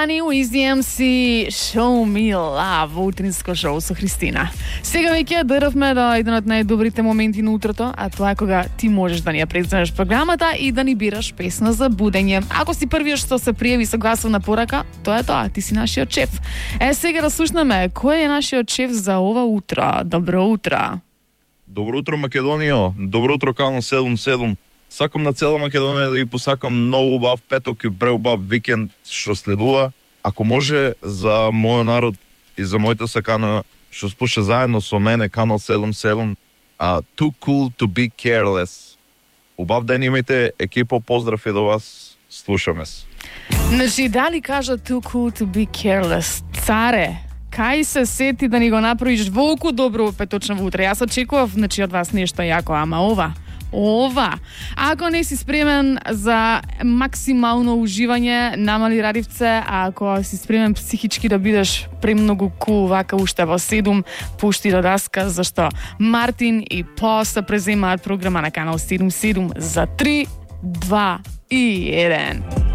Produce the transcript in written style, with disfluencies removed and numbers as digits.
Rani Wiz the MC Show Me Love во утринско шоу со Христина. Сега веќе дървме до еден од најдобрите моменти на утрото, а тоа е кога ти можеш да ни ја преземеш програмата и да ни бираш песна за будење. Ако си првиот што се пријави со гласовна порака, тоа е тоа, ти си нашиот шеф. Сега да слушнеме кој е нашиот шеф за ова утро. Добро утро. Добро утро, Македонија. Добро утро, Канал 77. Сакам на цела Македонија да ги посакам многу убав петок и преубав викенд што следува. Ако може за мојот народ и за мојата сакана што слуша заедно со мене Канал 77, Too Cool to Be Careless. Убав ден имајте, екипо, поздрав и до вас. Слушаме се. Значи, дали кажа Too Cool to Be Careless? Царе, кај се сети да ни го направиш волку добро петочно утре? Јас очекував, значи, од вас нешто јако, ама ова. Ако не си спремен за максимално уживање, намали радивце, а ако си спремен психички да бидеш премногу кул вака уште во 7, пушти до даска, зашто Мартин и По се преземаат програма на Канал 77 за 3, 2 и 1.